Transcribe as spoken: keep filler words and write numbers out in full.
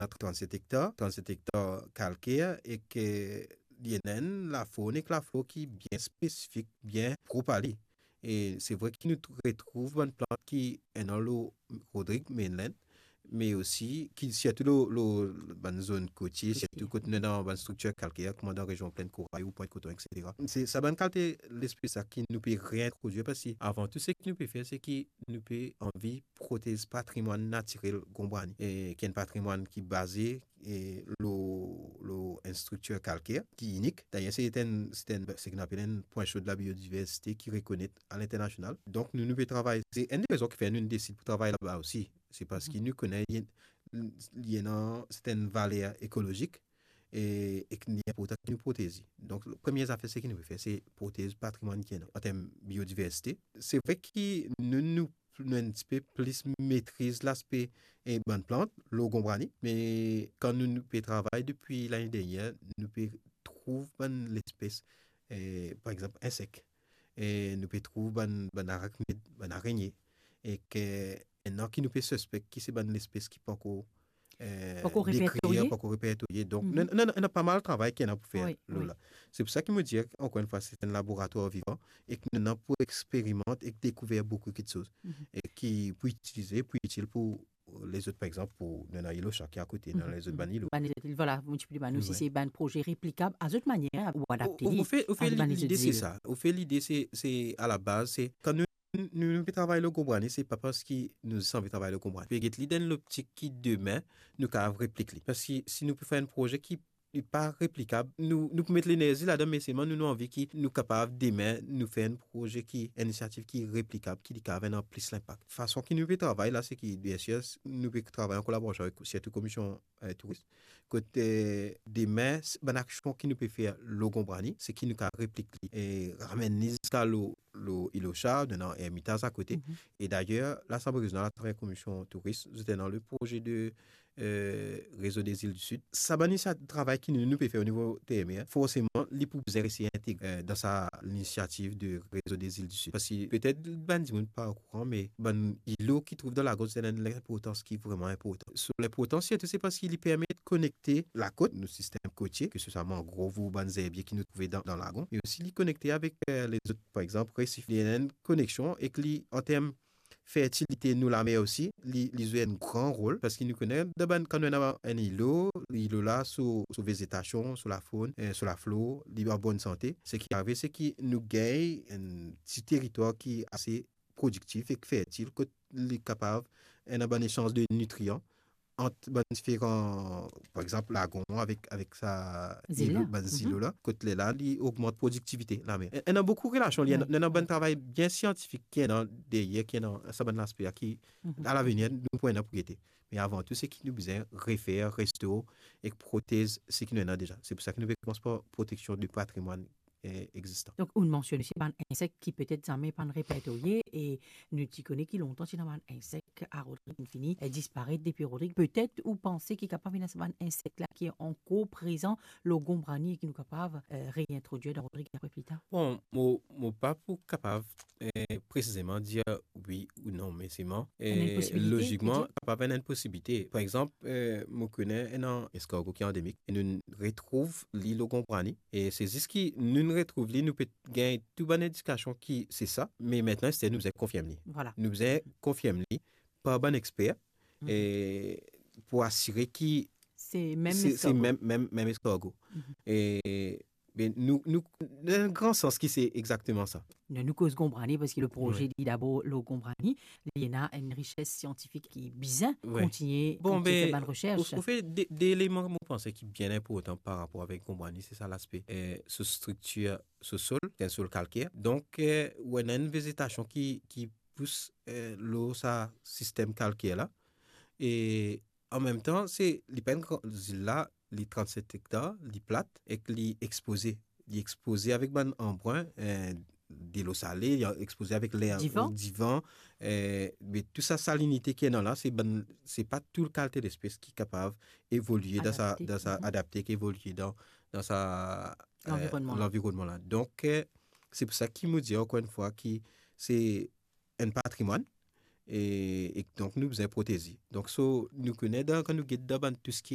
ena trannset ektar, trannset ektar kalker, e ki li ena enn lafawn ek laflor ki bien spesifik, bien prop a li. E se vre ki nou tr-, retrouv bann plant ki ena lor Rodrig mainland, me osi ki sirtou lor, lor bann zone kotie, sirtou kot nou ena bann striktir kalker, kouma dan rezion Plaine Corail ou Pointe Coton, et cetera. Se sa bann kalite lespes la ki nou pe reintrodwir, parski avan tou seki nou pe fer, se ki nou pe anvi protez patrimwann natirel Gonbwani, e ki enn patrimwann ki baze, e, lor, lor enn striktir kalker ki inik. Dayer, se enn, se enn, seki nou apel enn pwin so de la biodiversite ki rekonet a linternasional. Donk, nou, nou pe travay, se enn de rezon ki fer nou, nou desid pou travay laba osi. Se parski nou kone li, li ena sertenn valer ekolozik e, e ki li inportan ki nou protez li. Donk, premie zafer seki nou pe fer, se protez patrimwann ki ena an term biodiversite. Se vre ki nou, nou, nou enn tipe plis metriz laspe, e, bann plant lor Gonbwani, me kan nou, nou pe travay depi lane dernie, nou pe trouv bann lespes, e, par exanp, insek. E nou pe trouv bann, bann araknid, bann arenie, e ki ena ki nou pe sispek ki se bann lespes ki pankor, e, Pankor dekrir, repertorye. Pankor repertorye. Donk, Mhm. nou, nou, nou ena pa mal travay ki ena pou fer Wi, lor wi. la. Se pou sa ki mo dir, ankor enn fwa, se enn laboratwar vivan e ki nou ena pou experimant e dekouver boukou kiksoz Mhm. e ki pou itilize, pou itil pou lezot, par exanp, pou, nou ena Illocha ki akote, nou ena Mhm. lezot bann ilo. Bann lezot il, vwala, mo ti pe dimann ou si Wi. se bann proze replikab a zot manier ou adapte Ou, ou, li ou fer, ou fer a li, bann lezot lide se zil. sa. Ou fer lide se, se a la baz, se kan nou, nou, nou pe travay lor Gonbwani, se pa parski nou zis anvi travay lor Gonbwani. Pe get li dan loptik ki demin, nou kapav replik li. Parski si nou pe fer enn proze ki li pa replikab, nou, nou pou met lenerzi ladan, me selman nou, nou anvi ki nou kapav demin, nou fer enn proze ki, enn inisiativ ki replikab, ki li kapav ena plis linpak. Fason ki nou pe travay la, se ki, biensir, nou pe travay an kolaborasion avek sirtou Komision, e, Touris. Kot, e, demin, s-, bann aksion ki nou pe fer lor Gonbwani, se ki nou kapav replik li e ramenn li ziska lor, lor Illocha, dan Ermitaz akote. Mhm. E dayer, Lasanble Rezional atravers Komision Touris, zot ena le proze de, e, Réseau des Îles du Sud. Sa bann inisiativ, travay ki nou, nou pe fer o nivo T M E, forseman, li pou bizin resi integre, e, dan sa linisiativ de Réseau des Îles du Sud. Parski petet bann dimoun pa okouran, me bann ilo ki trouv dan lagon, se ena enn linportans ki vreman inportan. So linportans, sirtou, se parski li permet konekte lakot, nou sistem kotie, ke se swa mangrov ou bann zerbie ki nou trouve dan, dan lagon, me osi li konekte avek, e, lezot, par exanp, resif. Li ena enn koneksion ek li an term fertilite nou lamer osi, li, li zwe enn gran rol, parski nou kone, dan bann, kan nou ena enn ilo, ilo la, so, so vezetasion, so lafawn, e, so laflor, li an bonn sante. Seki arive, se ki nou gagn enn ti teritwar ki ase prodiktif ek fertil, kot li kapav ena bann esanz de nitrian ant bann diferan, par exanp, lagon avek, avek sa Zil la. ilo, bann Mhm. zilo la, kot lerla, li ogmant prodiktivite lamer. E, ena boukou relasion, li ena, Wi. ena bann travay bien siantifik ki ena deryer, ki ena sa bann laspe la ki, Mhm. a lavenir, nou pou ena pou gete. Me avan tou, se ki nou bizin refer, restor ek protez seki nou ena deza. Se pou sa ki nou pe koumans par proteksion de patrimwann, e, egzistan. Donk, ou mansionn osi bann insek ki petet zame pa'nn repertorye, e nou ti kone ki lontan ti ena bann insek a Rodrig, inn fini, e, disparet depi Rodrig. Petet ou panse ki kapav ena sa bann insek la ki ankor prezan lor Gonbwani e ki nou kapav, e, reintrodwir dan Rodrig apre pli tar? Bon, mo, mo pa pou kapav, e, presizeman dir wi ou non, me selman, Ena enn e, posibilite, lozikman, ou dir? Kapav ena enn posibilite. Par exanp, e, mo kone ena eskargo ki andemik, e nou retrouv li lor Gonbwani, e se zis ki nou retrouv li, nou pe gagn tou bann indikasion ki se sa, me aster nou bizin konfirm li. Vwala. Nou bizin konfirm li par bann exper, Mhm. e pou asire ki Se mem se, se eskargo. mem, mem, mem eskargo. Mhm. E, be, nou, nou, dan enn gran sans ki se exakteman sa. Non, nou koz Gonbwani, parski le proze Wi. li dabor lor Gonbwani, li ena enn rises siantifik ki bizin Wi. kontigne, Bon, kontigne be, fer bann resers. ou, ou fer de, de eleman mo panse ki bien inportan par rapor avek Gonbwani, se sa laspe, e, so striktir, so sol, se enn sol kalker. Donk, e, ou ena enn vezetasion ki, ki pous, e, lor sa sistem kalker la. E an mem tan, se, li pa enn gran, zil la, li trannset ektar, li plat, ek li expoze. Li expoze avek bann anbrin, e, delo sale, li expoze avek ler, Divan. divan, e, me tou sa salinite ki ena la, se bann, se pa tou kalite lespes ki kapav evolye dan sa, Adapte. dan sa, Mhm. adapte, ki evolye dan, dan sa, e, Lanvironnman. lanvironnman la. Donk, e, se pou sa ki mo dir ankor enn fwa ki se enn patrimwann, e, e donk nou bizin proteze. Donk, so, nou kone dan, kan nou get dan bann tou seki